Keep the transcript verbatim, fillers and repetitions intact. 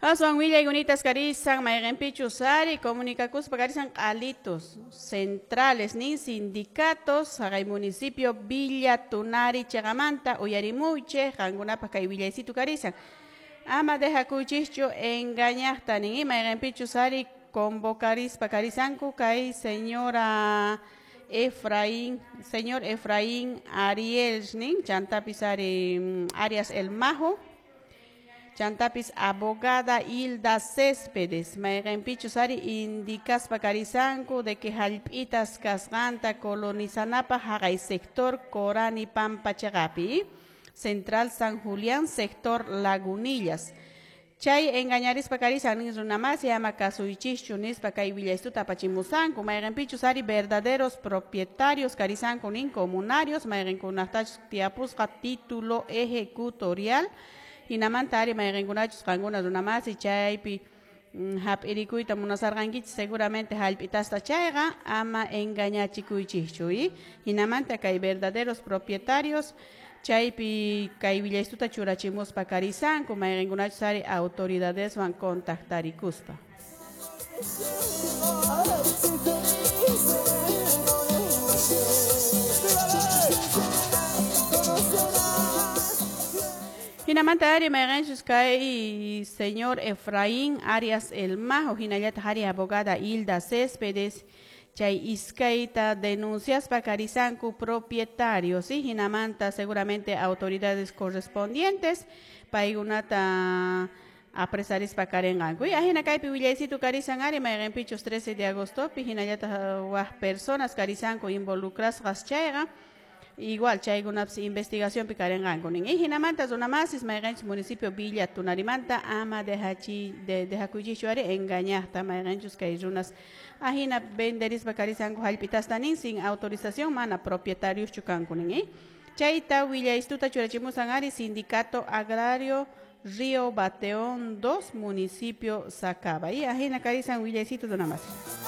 Aswan willayunitas karisan mayqinpichus ari comunicakuspa karisan q'alitus centrales nin sindicatos haqay municipio Villa Tunari chiqamanta uyarimuychik qankunapaq kay willaysitu karisan ama dejakuychischu engañaqta nin mayqinpichus ari convocarispa karisanku kay señora Efraín, señor Efraín Ariel nin chantapis ari Arias El Majo chantapis abogada Hilda Céspedes mayqinpichus ari indicaspa karisanku de que hallp'itas kasqanta colonizanapaq haqay sector Corani Pampa chiqapi Central San Julián sector Lagunillas chay engañarispa karisan nin runamasi ama kasuychischu nispa kay willaystuta apachimusanku mayqinpichus ari verdaderos propietarios karisanku nin comunarios mayqinkunaqtachus tiyapusqa título ejecutorial hinamanta ari mayqinkunachus qankuna runamasi chaypi hap'irikuyta munasarqankichis seguramente hallp'itasta chayqa ama engañachikuychischu hinamanta kay verdaderos propietarios chaypi kay willaystuta churachimuspa karisanku mayqinkunachus ari autoridadeswan contactarikuspa. Hinamanta ari mayqinchus kay señor Efraín Arias El Majo hinallataq ari abogada Hilda Céspedes chay iskayta denunciaspa karisanku propietarios ¿sí? Hinamanta seguramente autoridades correspondientes paykunata apresarispa karinqanku y ahina kaypi willaysitu karisan ari mayqinpichus trece de agostopi hinallataq waq personas karisanku involucrasqas chayqa igual chaykunapis investigacionpi karinqanku nin y hinamanta runamasis mayqinchus municipio Villa Tunarimanta ama dejachi de dejakuychischu ari engañaqta mayqinchus kay runas ahina venderispa karisanku hallp'itasta nin sin autorización mana propietarioschu kanku nin ¿eh? Chayta willaystuta churachimusan ari Sindicato Agrario Río Bateón dos municipio Sacaba y ahina karisan willaysitu runamasis.